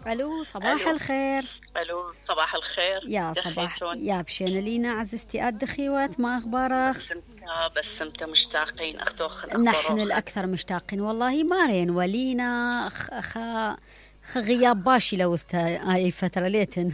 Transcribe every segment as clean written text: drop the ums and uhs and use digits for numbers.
الو صباح الخير. الو صباح الخير يا صباح يا بشينا لينا عزيزتي الدخيوات، ما اخبارك؟ بسمتها مشتاقين اختوخ. نحن الاكثر مشتاقين والله. مارين ولينا غياب باشي لو هاي فتره ليتن.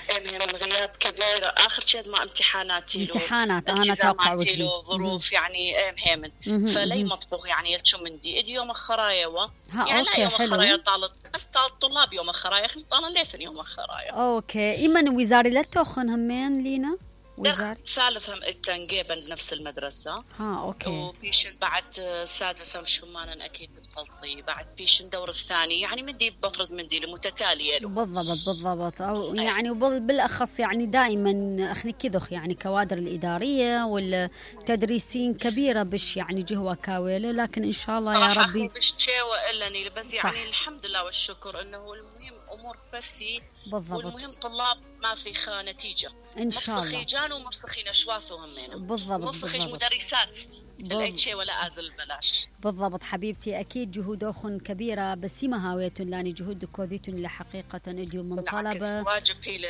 من غياب كبير، اخر شيء مع امتحانات انا توقعت له ظروف يعني مهمن فلي مطبوخ يعني يلشو مندي يوم خرايا يعني لا يوم خرايا طالت بس طلاب يوم خرايا طالن ليثن يوم خرايا. اوكي ايمن وزاري لا توخن همين لينا وزاري ثالث هم التنقيبا بنفس المدرسة. اوكي. وبيشن بعد سادس هم شمانا اكيد بتفلطي بعد بيشن دور الثاني يعني مندي بفرض مندي متتالية له. بالضبط او يعني بالاخص يعني دائما اخني كذخ يعني كوادر الادارية والتدريسين كبيرة بش يعني جهوة كاويلة، لكن ان شاء الله يا ربي بش تشيوه الا بس يعني الحمد لله والشكر انه المهم امور بسي. بالضبط. والمهم طلاب ما في نتيجة ان شاء الله. مفسخي جان ومفسخين اشوافهم هنا. بالضبط. مفسخيش مدرسات الاي شيء ولا ازل بلاش. بالضبط حبيبتي، اكيد جهودكم كبيره بس ما هاويتن لاني جهود كوديتن لحقيقه اديو من طلبه واجب هي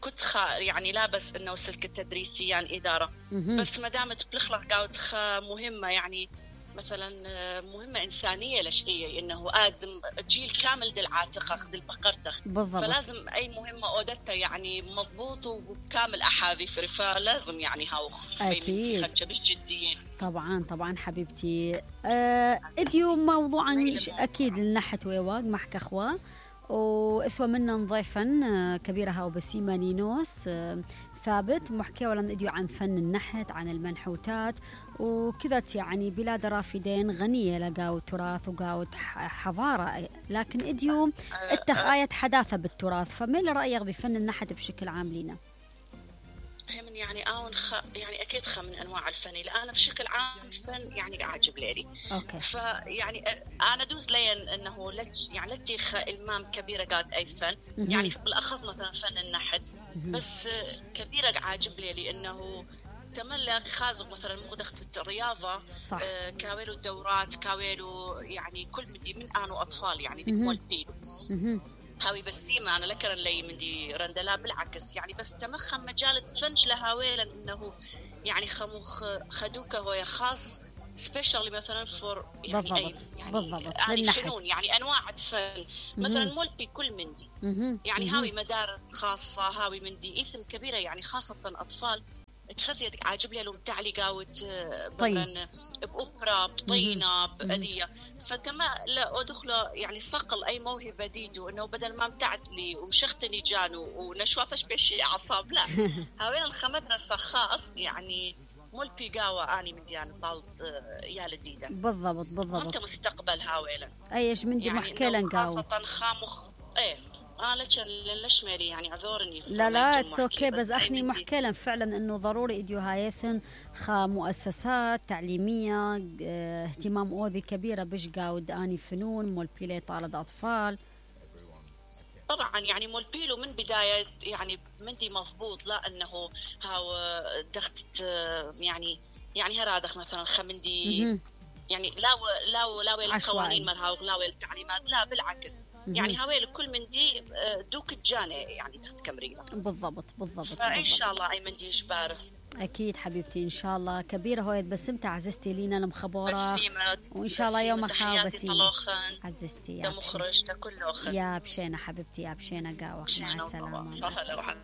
كنت يعني لا بس انه سلك التدريسي يعني اداره بس ما دامت بلخلق قاعد مهمه يعني مثلا مهمة إنسانية لشيء إنه آدم جيل كامل دل عاتق أخذ البقرتخ. بالضبط. فلازم أي مهمة أودتها يعني مضبوط وكامل أحاذير فلازم يعني هاو أكيد خدشة بش جدية. طبعا حبيبتي. اديو موضوعا أكيد لنحت ويواق محك أخوة وإثوى منا نضيفا كبيرة هاو بسيمة نينوس ثابت محكي ولا اديو عن فن النحت عن المنحوتات وكذا يعني بلاد رافدين غنية لقاو تراث وقاو حضارة، لكن اديو اتخاية حداثة بالتراث. فما رأيك بفن النحت بشكل عام لينا؟ هم يعني يعني اكيد من انواع الفن اللي انا بشكل عام الفن يعني عاجب لي. اوكي. فيعني انا دوز لين انه يعني لتيخ المام كبيره قاد اي فن يعني بالاخص مثلا فن النحت بس كبيره عاجب لي لانه تملك خازق مثلا مخدخت الرياضه صح. كاويلو الدورات كاويلو يعني كل مدي من انو اطفال يعني ديك مول بيلو هاوي بسيمة أنا لكرن لي من دي رندلا بالعكس يعني بس تمخم مجال فنش لهاويلا إنه يعني خدوكه هو خاص سبيشالي مثلا فور يعني بالضبط. يعني بالضبط. يعني فنون يعني أنواع فن مثلا مول بكل مندي يعني هاوي مدارس خاصة هاوي مندي إثم كبيرة يعني خاصة أطفال تخزيتك عاجب لي لهم تعلي قاوت مثلا بأوبرا بطينة بأدية فكما لا أدخله يعني صقل أي موهبة ديدو إنه بدل ما امتعت لي ومشختني جانو ونشوافش بشي عصاب لا هاوين الخمدنا خاص يعني مول بيقاوة أني من ديان طالت يا لديدة. بالضبط. أنت مستقبل هاويلا أيش من دي يعني محكيلا قاوة خاصة خامخ ليش مالي يعني عذورني لا اتس اوكي بس اخني محكيلا فعلا انه ضروري اديو هايثن مؤسسات تعليميه اهتمام اوذي كبيره بش قاود اني فنون مول بيلي طالد اطفال طبعا يعني مول بيلو من بدايه يعني مندي مضبوط لا انه هاو دخت يعني هرادخ مثلا خمندي يعني لا القوانين مرها ولا التعليمات لا بالعكس يعني هاويل كل من دي دوك الجاني يعني تحت كمرية. بالضبط. فإن شاء الله أي من دي إجباره أكيد حبيبتي إن شاء الله كبيرة هويت بسمت عززتي لينا المخبورة وإن شاء الله يوم خاو بسيمة عززتي يا مخرج كله يا بشينا حبيبتي يا بشينا قاوة مع السلامة.